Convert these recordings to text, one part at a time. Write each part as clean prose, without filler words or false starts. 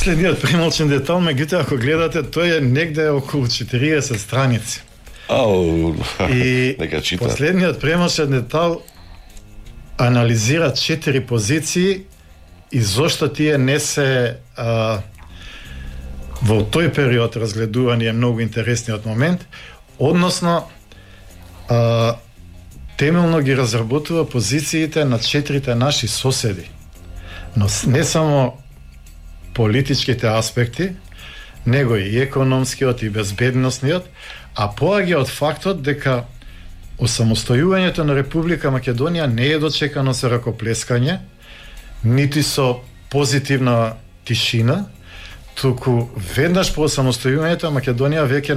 Следниот премолчен детал, меѓутоа ако гледате, тој е негде околу 40 страници. И нека чита. Последниот премолчен детал анализира 4 позиции и зошто тие не се во тој период разгледувани е многу интересниот момент, односно темелно ги разработува позициите на 4 наши соседи. Но не само политичките аспекти, него и економскиот и безбедносниот, а поаѓа од фактот дека осамостојувањето на Република Македонија не е дочекано со ракоплескање, нити со позитивна тишина, туку веднаш по осамостојувањето Македонија веќе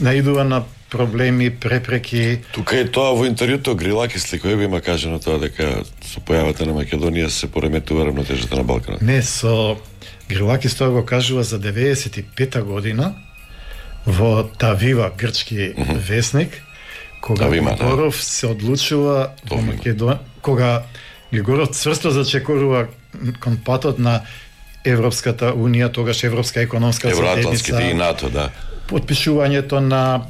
наидува на проблеми, препреки. Тука е тоа во интервјуто Грилакис Ликојеви има кажано тоа дека со појавата на Македонија се пореметува равнотежата на Балканот. Не, со Грилакис тоа го кажува за 95-та година во Тавива, грчки весник, кога Григоров се одлучува во Македонија, кога Григоров цврсто зачекорува кон патот на Европската унија, тогаш Европска економска заедница, и НАТО, да. Подпишувањето на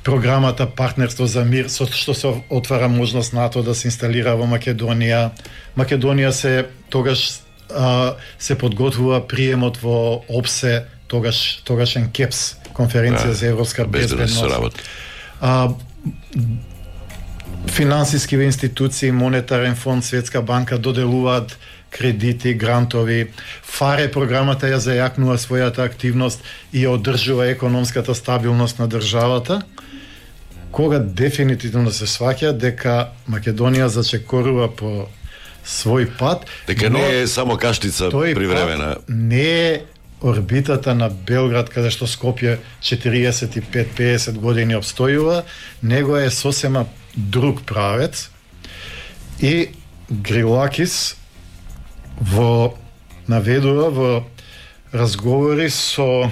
програмата Партнерство за мир, со што се отвара можност НАТО да се инсталира во Македонија. Македонија тогаш се подготвува приемот во ОПСЕ, тогашен КЕПС, конференција за европска безбедност. Финансиски институции, Монетарен фонд, Светска банка доделуваат кредити, грантови. ФАРЕ програмата ја зајакнува својата активност и ја одржува економската стабилност на државата, кога дефинитивно се сваќа дека Македонија зачекорува по свој пат. Дека не е само каштица привремена. Не е орбитата на Белград, каде што Скопје 45-50 години обстојува, него е сосема друг правец. И Грилакис наведува во разговори со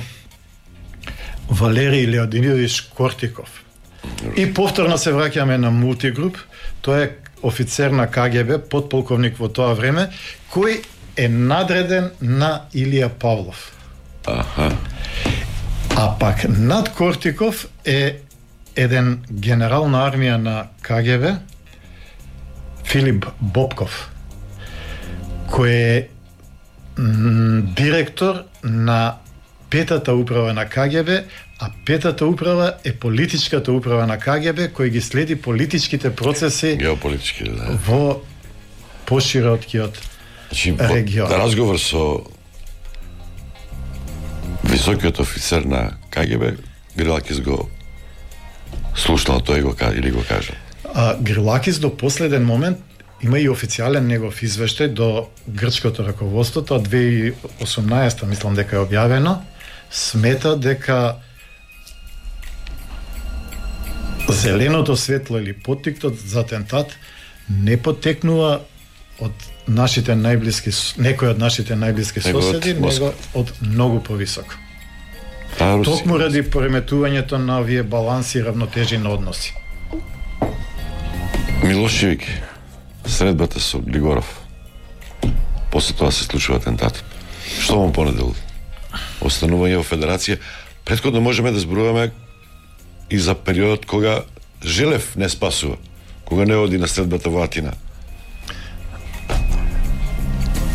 Валерий Леодинович Кортиков. И повторно се враќаме на Мултигруп, тој е офицер на КГБ, подполковник во тоа време, кој е надреден на Илија Павлов. А пак над Кортиков е еден генерал на армија на КГБ, Филип Бобков, кој е директор на петата управа на КГБ, а петата управа е политичката управа на КГБ, кој ги следи политичките процеси во пошироткиот регион. Разговор со високиот офицер на КГБ, Грилакис го слушнал тој или го кажа? Грилакис до последен момент има и официјален негов извештај до грчкото раководство, тоа 2018 мислам дека е објавено, смета дека зеленото светло или поттиктот за атентат не потекнува од нашите најблиски, некој од нашите најблиски соседи, него од многу повисоко. Токму ради пореметувањето на овие баланси и равнотежи на односи. Милошевик, средбата со Григоров, после тоа се случува атентатот. Што му понедел? Останување во Федерација. Претходно можеме да зборуваме и за периодот кога Желев не спасува, кога не оди на средбата во Атина.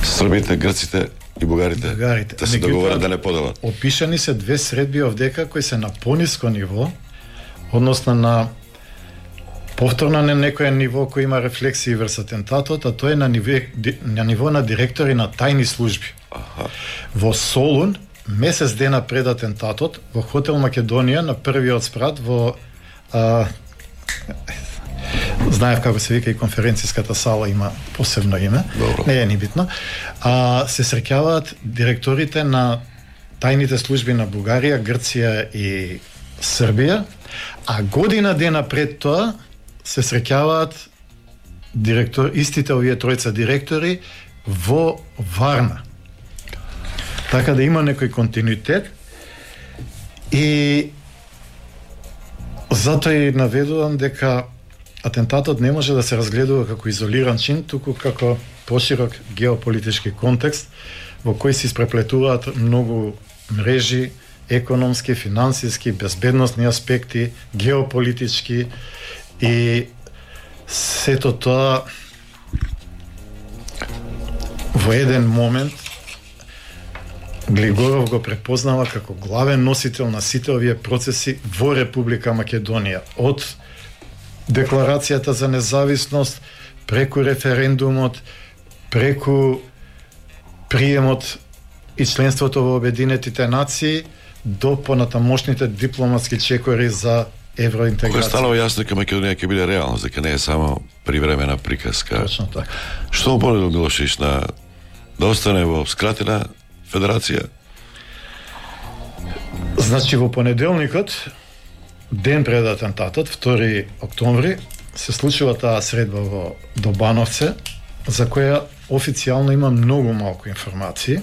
Србите, грците и бугарите да се договорат да не поделат. Опишани се 2 средби овдека кои се на пониско ниво, односно на повторно на некој ниво кој има рефлексии врз атентатот, а тоа е на ниво на директори на тајни служби. Во Солун, месец дена пред атентатот, во хотел Македонија, на првиот спрат во знаев како се вика и конференцијската сала, има посебно име. Добро. Не е ни битно. Се среќаваат директорите на тајните служби на Бугарија, Грција и Србија, а година дена пред тоа се среќаваат истите овие тројца директори во Варна. Така да има некој континуитет и затоа и наведувам дека атентатот не може да се разгледува како изолиран чин, туку како поширок геополитички контекст во кој се испреплетуваат многу мрежи, економски, финансиски, безбедносни аспекти, геополитички и сето тоа во еден момент Глигоров го препознава како главен носител на сите овие процеси во Република Македонија, од Декларацијата за независност, преку референдумот, преку приемот и членството во Обединетите нации, до понатамошните дипломатски чекори за евроинтеграција. Кога станува јасно дека Македонија ќе биде реалност, дека не е само привремена приказка. Точно така. Што му понудил Милошевиќ да остане во скратена федерација? Значи во понеделникот, ден пред атентатот, 2 октомври, се случува таа средба во Добановце, за која официјално има многу малку информации.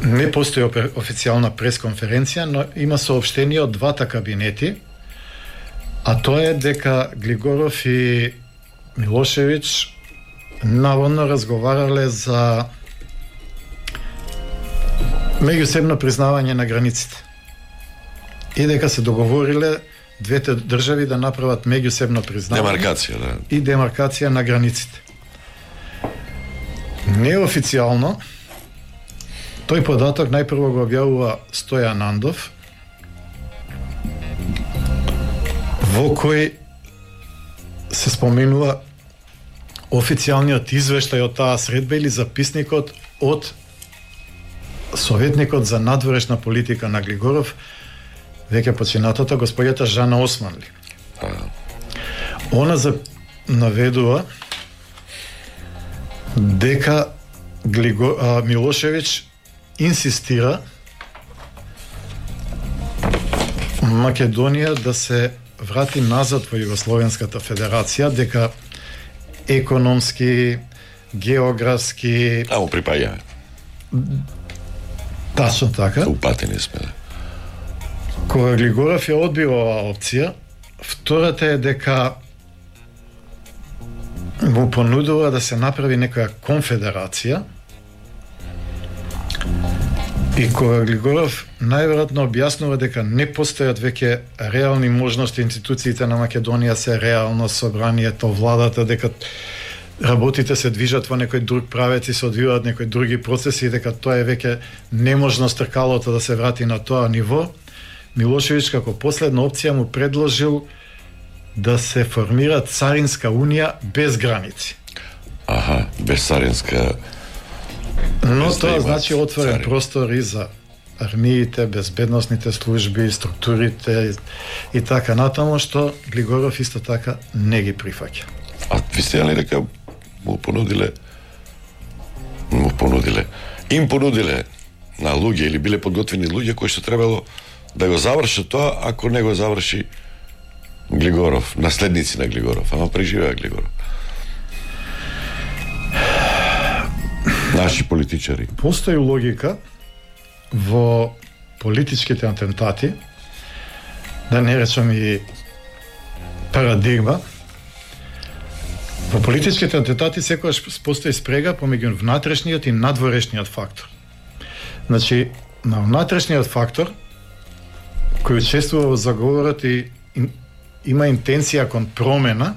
Не постои официјална пресконференција, но има соопштение од двата кабинети, а тоа е дека Глигоров и Милошевиќ наводно разговарале за меѓусебно признавање на границите. И дека се договориле двете држави да направат меѓусебно признавање. Демаркација, да. И демаркација на границите. Неофицијално, тој податок најпрво го објавува Стојан Андов, во кој се споменува официјалниот извештај од таа средба или записникот од советникот за надворешна политика на Глигоров, веќе починатата господјата Жана Османли. Она наведува дека Милошевиќ инсистира Македонија да се врати назад во Југословенската федерација, дека економски, географски... Му припаѓаме. Тачно така. Упатени сме. Кога Глигоров ја одбива оваа опција, втората е дека му понудува да се направи некоја конфедерација, и кога Глигоров најверојатно објаснува дека не постојат веќе реални можности, институциите на Македонија се реално, собранието, владата, дека работите се движат во некој друг правец и се одвиваат некои други процеси, и дека тоа е веќе неможност тркалото да се врати на тоа ниво, Милошевиќ како последна опција му предложил да се формира царинска унија без граници. Без царинска. Но тоа значи отворен простор и за армиите, безбедносните служби, структурите и така натаму, што Глигоров исто така не ги прифаќа. А ви сте ли дека им понудиле на луѓе или биле подготвени луѓе кои што требало да го завршат тоа, ако не го заврши Глигоров, наследници на Глигоров, ама преживеа Глигоров. Наши политичари. Постои логика во политичките атентати, да не речам и парадигма. Во политичките атентати секогаш постои спрега помеѓу внатрешниот и надворешниот фактор. Значи, на внатрешниот фактор, кој учествува во заговорот и има интенција кон промена,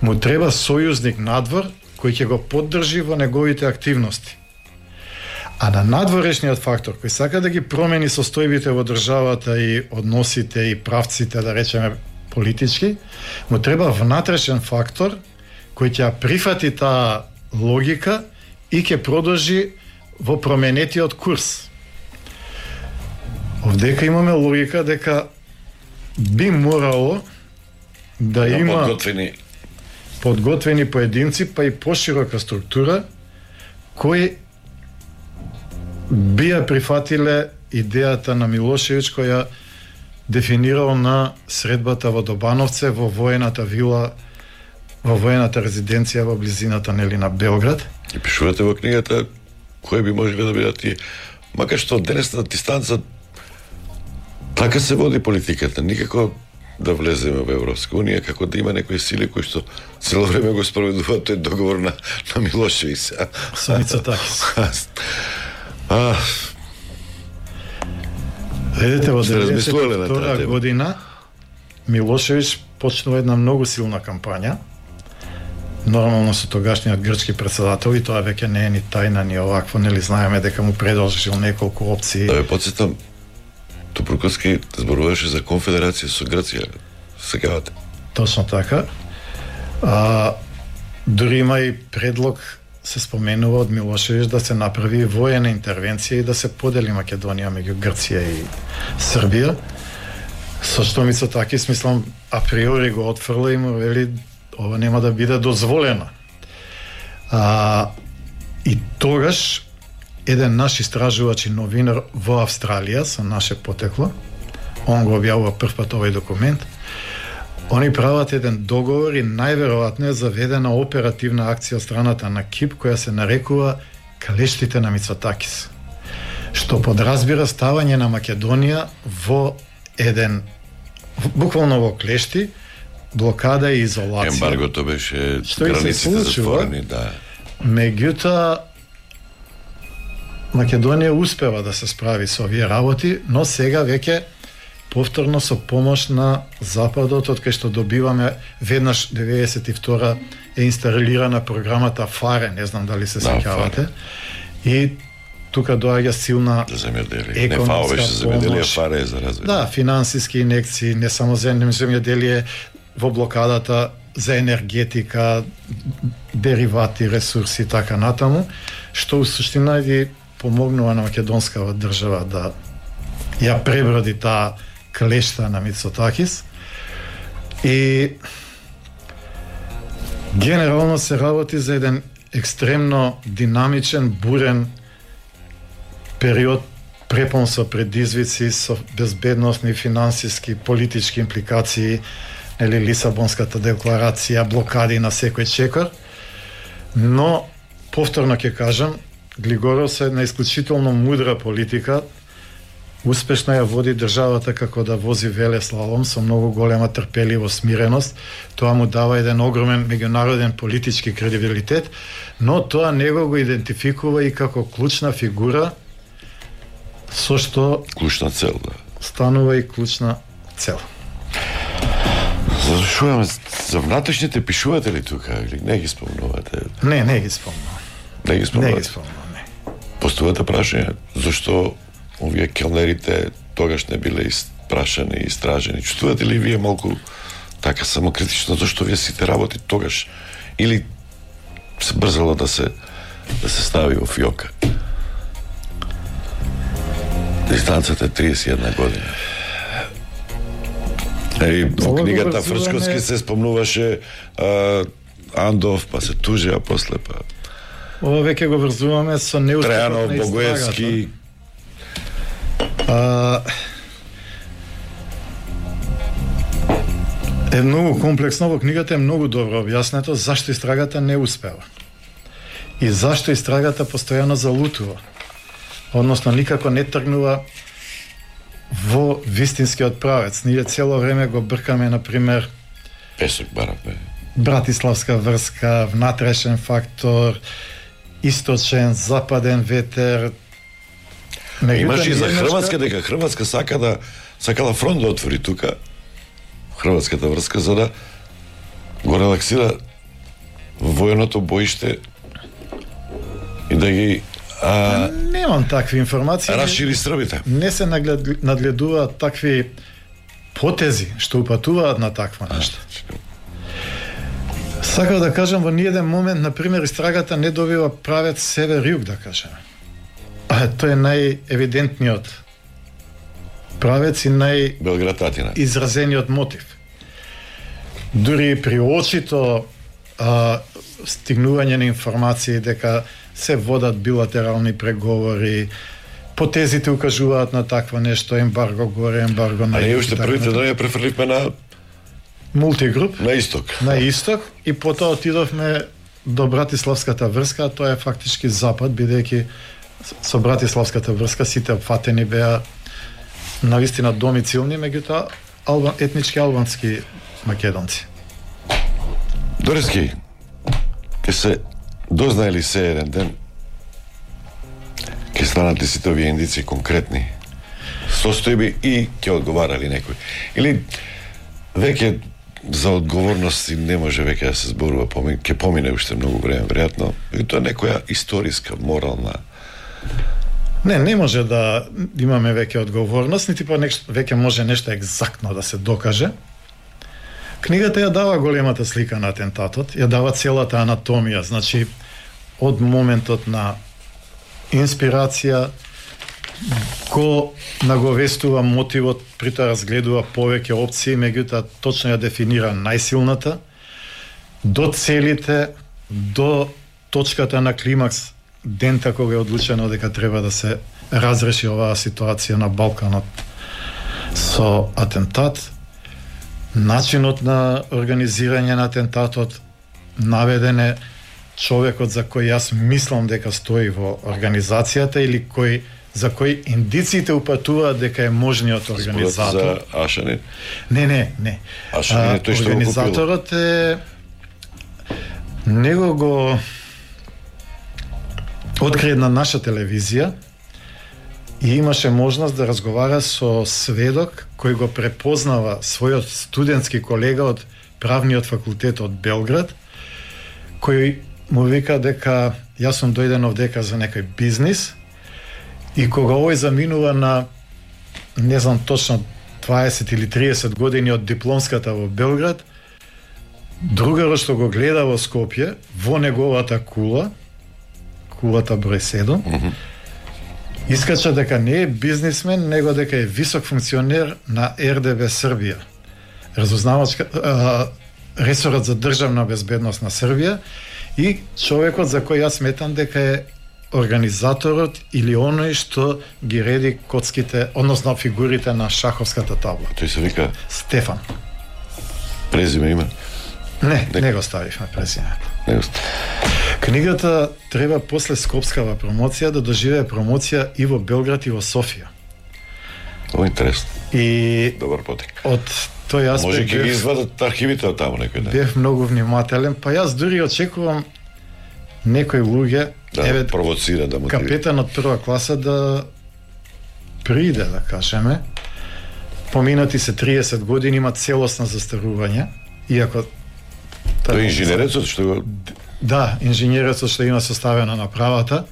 му треба сојузник надвор кој ќе го поддржи во неговите активности. А на надворешниот фактор, кој сака да ги промени состојбите во државата и односите и правците, да речеме политички, му треба внатрешен фактор кој ќе прифати таа логика и ќе продолжи во променетиот курс. Овдека имаме логика дека би морало да има подготвени поединци, па и поширока структура, кои би ја прифатиле идејата на Милошевиќ, која дефинирал на средбата во Добановце, во воената вила, во воената резиденција во близината на Белград. И пишувате во книгата кои би можеле да бидат тие. Макар што денес на дистанца така се води политиката, никако да влеземе во Европска унија, како да има некои сили кои што цело време го спроведуваат тој договор на Милошевич. Со Мицотакис. Видите, во 1992 година Милошевич почнува една многу силна кампања, нормално со тогашниот грчки председател, и тоа веќе не е ни тајна ни овакво, нели знаеме дека му предложил неколку опции. Да ве потсетам, Тупурковски зборуваше за конфедерација со Грција. Секавате. Точно така. Дури има и предлог, се споменува од Милошевич, да се направи воена интервенција и да се подели Македонија меѓу Грција и Србија. Со што Мицотакис, мислам, априори го отфрла и му вели ова нема да биде дозволено. И тогаш еден наш истражувач и новинар во Австралија со наше потекло, он го објавува првпат овој документ, они прават еден договор и најверојатно е заведена оперативна акција од страната на КИП која се нарекува Клештите на Мицотакис, што подразбира ставање на Македонија во еден, буквално во клешти, блокада и изолација. Ембаргото беше, границите затворени, да. Меѓутоа, Македонија успева да се справи со овие работи, но сега веќе повторно со помош на Западот, од кај што добиваме веднаш 92 е инсталирана програмата ФАРЕ, не знам дали се сеќавате. И тука доаѓа силна економска не ФАО беше за земјоделие, ФАРЕ е за развој. Да, финансиски инекции, не само за земјоделие, во блокадата за енергетика, деривати, ресурси и така натаму, што у суштина ги помогнува на македонскава држава да ја преброди таа клешта на Мицотакис. И генерално се работи за еден екстремно динамичен, бурен период, препон со предизвици, со безбедносни, финансиски, политички импликации, или Лисабонската декларација, блокади на секој чекор. Но, повторно ќе кажам, Глигоров е една исклучително мудра политика, успешно ја води државата како да вози велеслалом со многу голема трпеливост, смиреност. Тоа му дава еден огромен меѓународен политички кредибилитет, но тоа него го идентификува и како клучна фигура со што клучна цел, да. Станува и клучна цел. Завршуваме за внатрешните, пишувате ли тука или не ги спомнувате? Не ги спомнувам. Не ги спомнувате? Не ги спомнувам, не. Поставувате прашање, зашто овие келнерите тогаш не биле испрашани и истражени? Чувствувате ли вие малку така самокритично зашто вие сите работи тогаш или се брзало да се стави во фиока? Дистанцата е 31 година. Во книгата Фрчковски се спомнуваше Андов, па се тужи, а после па ова веќе го врзуваме со неуспехот Трајанов, на Богоевски. Е многу комплексно, во книгата е многу добро објаснето зашто истрагата не успева. И зашто истрагата постојано залутува. Односно, никако не тргнува во вистинскиот правец. Ние цело време го бркаме, например, Песок баравме. Братиславска врска, внатрешен фактор, источен, западен ветер. Имаш и за Хрватска, дека Хрватска сакала фронт да отвори тука, Хрватската врска, за да го релаксира военото боиште и да ги немам такви информации. Расшири србите. Не се нагледуваат такви потези што упатуваат на таква нешто. Сакав да кажам, во ниеден момент, например, истрагата не добива правец север-југ, да кажеме. Тој е најевидентниот правец и изразениот мотив. Дури при очито стигнување на информации дека се водат билатерални преговори, потезите укажуваат на такво нешто, ембарго горе, ембарго на... А ние уште првите дни ја префрливме на мултигруп. На исток. На исток и потоа отидовме до Братиславската врска, а тоа е фактички запад, бидејќи со Братиславската врска сите опфатени беа навистина домицилни, меѓутоа етнички албански македонци. Дорески, ке се дознаели се еден ден, ке станат ли сите овие индици конкретни состојби и ќе одговарали некој? Или веќе за одговорности не може веќе да се зборува, ќе помине уште многу време, веројатно, и тоа е некоја историска, морална... Не може да имаме веќе одговорност, нити па веќе може нешто екзактно да се докаже. Книгата ја дава големата слика на атентатот, ја дава целата анатомија, значи од моментот на инспирација, го наговестува мотивот, притоа разгледува повеќе опции, меѓутоа точно ја дефинира најсилната, до целите, до точката на климакс, дента кога е одлучено дека треба да се разреши оваа ситуација на Балканот со атентат, начинот на организирање на атентатот, наведен е човекот за кој јас мислам дека стои во организацијата или за кој индициите упатуваат дека е можниот организатор. За Ашанин? Не. Ашанин е тој што го купил. Организаторот е... Него го откри на наша телевизија и имаше можност да разговара со сведок кој го препознава својот студентски колега од правниот факултет од Белград, кој му вика дека јас сум дојден овдека за некој бизнис, и кога овој заминува на, не знам точно, 20 или 30 години од дипломската во Белград, другарот што го гледа во Скопје, во неговата кулата број 7, искача дека не е бизнисмен, него дека е висок функционер на РДБ Србија, ресорот за државна безбедност на Србија, и човекот за кој јас сметам дека е организаторот или оној што ги реди коцките, односно фигурите на шаховската табла. Тој се вика Стефан. Презиме име? Не го ставивме презимето. Книгата треба после скопскава промоција да доживее промоција и во Белград и во Софија. Тоа е интересно. И добар потек. Од тој аспект може ќе ги извадат архивите од таму некој ден. Бев многу внимателен, па јас дури очекувам некои луѓе, да провоцира, да мотивира. Капетан од прва класа да приде, да кажеме. Поминати се 30 години, има целосно застарување, иако тој инженерецот што го... Да, инженерецот што има составена направата,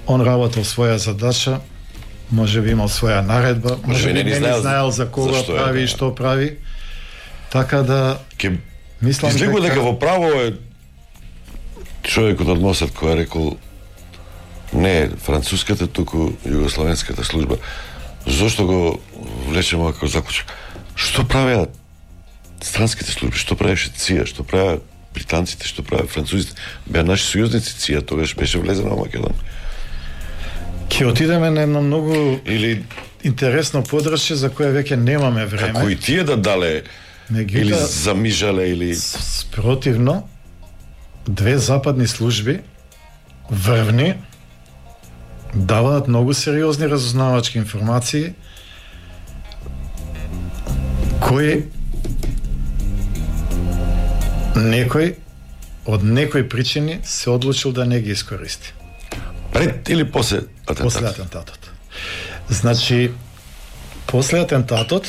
он работел своја задача, може би имал своја наредба, може би не знаел за кога прави и што прави. Така да мислам излегува дека во право е човекот од Мосад кој е рекол не француската, туку југословенската служба. Зошто го влечеме како заклучок? Што правеа странските служби? Што правеше ЦИА? Што правеа британците? Што правеа французите? Беа наши сојузници ЦИА, тогаш беше влезена во Македонија. Ќе отидеме на едно многу интересно подрачје за кое веќе немаме време. Како и тие да дале или замижале или... Спротивно, две западни служби врвни даваат многу сериозни разузнавачки информации кои некој од некои причини се одлучил да не ги искористи. Пред или после атентатот? После атентатот. Значи, после атентатот,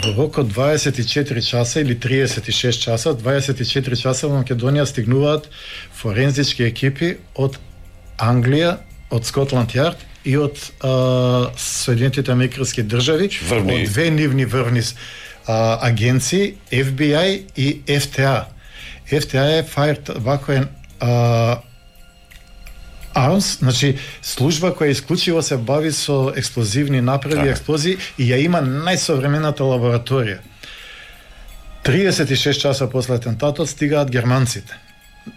во рок од 24 часа или 36 часа, 24 часа во Македонија стигнуваат форензички екипи од Англија, од Скотланд Јард и од Соединетите американски држави, од две нивни врвни агенции, FBI и FTA. FTA е Fired Vacuum Arms, значи служба која исклучиво се бави со експлозивни направи, експлозии и ја има најсовремената лабораторија. 36 часа после атентатот стигаат германците.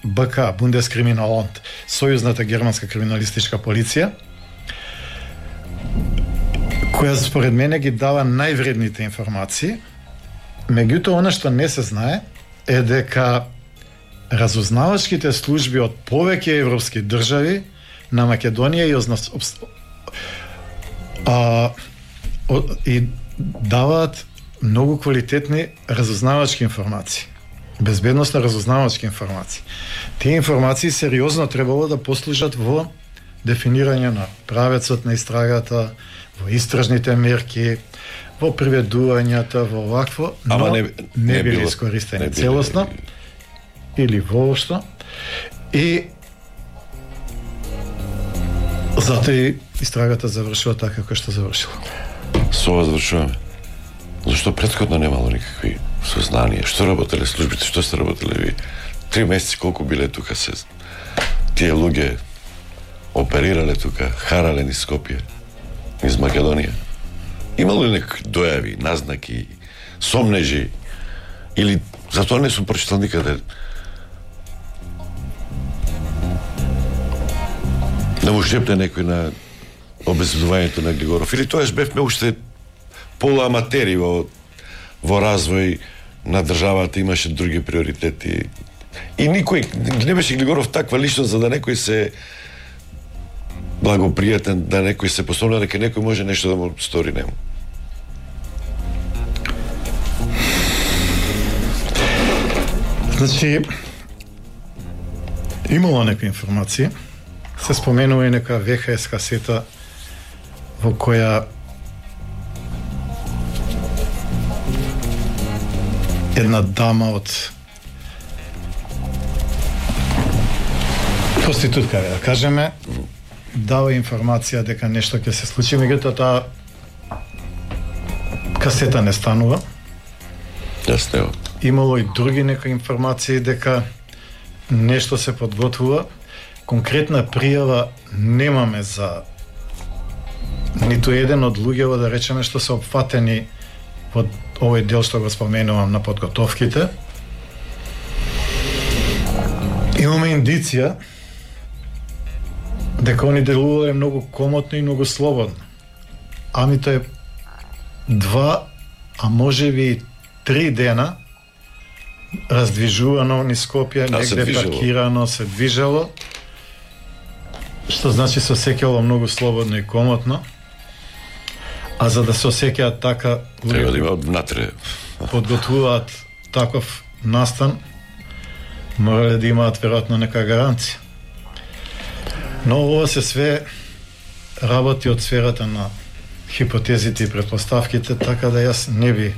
БК, Бундескриминаланд, сојузната германска криминалистичка полиција, која според мене ги дава највредните информации. Меѓутоа, она што не се знае е дека разузнавачките служби од повеќе европски држави на Македонија и даваат многу квалитетни разузнавачки информации. Безбедностно разузнавачки информации. Тие информации сериозно требало да послужат во дефинирање на правецот на истрагата, во истражните мерки, во приведувањата, во овакво, но не били искористени целосно или воопшто. И затоа и истрагата завршува така како што завршила. Со ова завршуваме. Зашто претходно немало никакви сознанија? Што работеле службите? Што сте работеле ви? 3 месеци колку биле тука се? Тие луѓе оперирале тука, харале низ Скопје, низ Македонија? Имало ли некакви дојави, назнаки, сомнежи? Или затоа не сум прочитал никаде да му шепне некој на обезбедувањето на Глигоров? Или тоаш бевме уште полуаматери во развој на државата, имаше други приоритети. И никој не беше Глигоров таква личност за да некој се благопријатен, да некој се посомна дека некој може нешто да му стори нему. Значи, имало некои информации. Се споменува и нека ВХС касета во која една дама од проститутка, да кажеме, дава информација дека нешто ќе се случи, меѓутоа таа касета не станува. Јасно. Имало и други некои информации дека нешто се подготвува. Конкретна пријава немаме за ниту еден од луѓето, да речеме, што се опфатени во овој дел што го споменувам на подготовките. Имаме индиција дека они делувале многу комотно и многу слободно. Ами тоа е 2, а можеби 3 дена раздвижувано низ Скопје, негде паркирано, се движело, што значи се осеќало многу слободно и комотно. А за да се осеќаат така, треба да има внатре. Подготвуваат таков настан, морале да имаат веројатно нека гаранција. Но ова се све работи од сферата на хипотезите и предпоставките, така да јас не би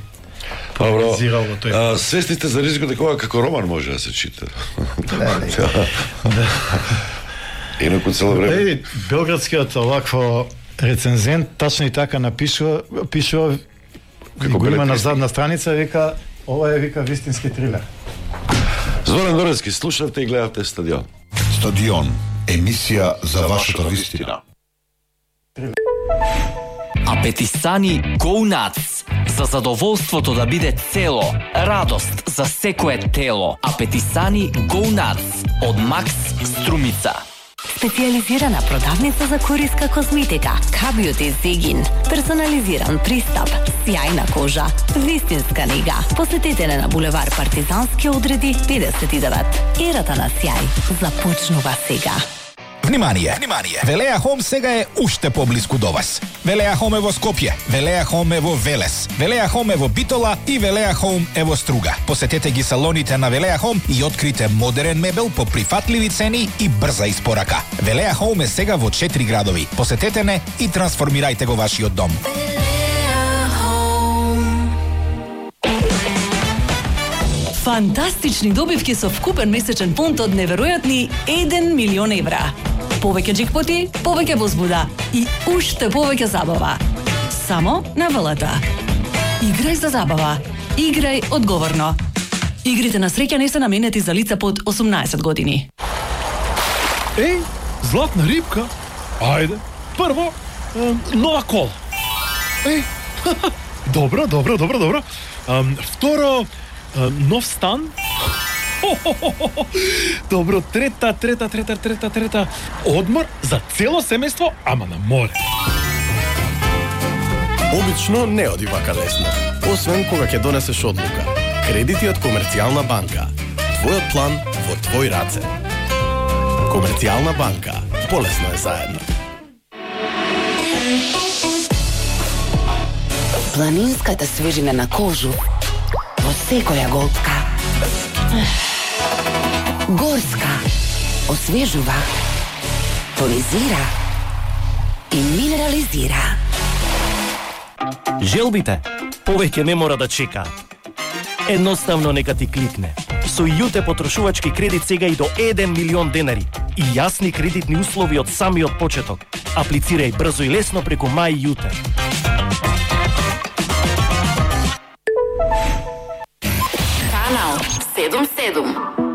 полемизирал во тој. Свесни сте за ризикот дека ова како роман може да се чита. Инаку цело време. Белградскиот овакво рецензент тачно и така пишува како го има на задна страница, вика ова е вистински трилер. Зоран Дорецки, слушавте и гледавте Стадион. Стадион, емисија за вашата вистина. Апетисани Go Nuts. За задоволството да биде цело, радост за секое тело. Апетисани Go Nuts од Макс Струмица. Специализирана продавница за кориска козметика, K-Beauty Zegin, персонализиран пристап, сјајна кожа, вистинска нега. Посетете на булевар Партизански одреди 59. Ерата на сјај започнува сега. Внимание! Велеа Хом сега е уште поблиску до вас. Велеа Хом е во Скопје, Велеа Хом е во Велес, Велеа Хом е во Битола и Велеа Хом е во Струга. Посетете ги салоните на Велеа Хом и открите модерен мебел по прифатливи цени и брза испорака. Велеа Хом е сега во 4 градови. Посетете не и трансформирајте го вашиот дом. Фантастични добивки со вкупен месечен фонд од неверојатни 1 милион евра. Повеќе джекпоти, повеќе возбуда и уште повеќе забава. Само на ВЛТ. Играј за забава. Играј одговорно. Игрите на среќа не се наменети за лица под 18 години. Еј, златна рибка. Ајде, прво, нова кола. Еј, добро. Второ, нов стан. Добро, трета. Одмор за цело семејство, ама на море. Обично не оди вака лесно, освен кога ќе донесеш одлука. Кредити од Комерцијална банка. Твојот план во твој раце. Комерцијална банка. Полесно е заедно. Планинската свежина на кожу во секоја голтка. Горска освежува, тонизира и минерализира. Желбите повеќе не мора да чекаат. Едноставно нека ти кликне. Со Јуте потрошувачки кредит сега и до 1 милион денари и јасни кредитни услови од самиот почеток. Аплицирај брзо и лесно преку Мај Јуте. Канал 77.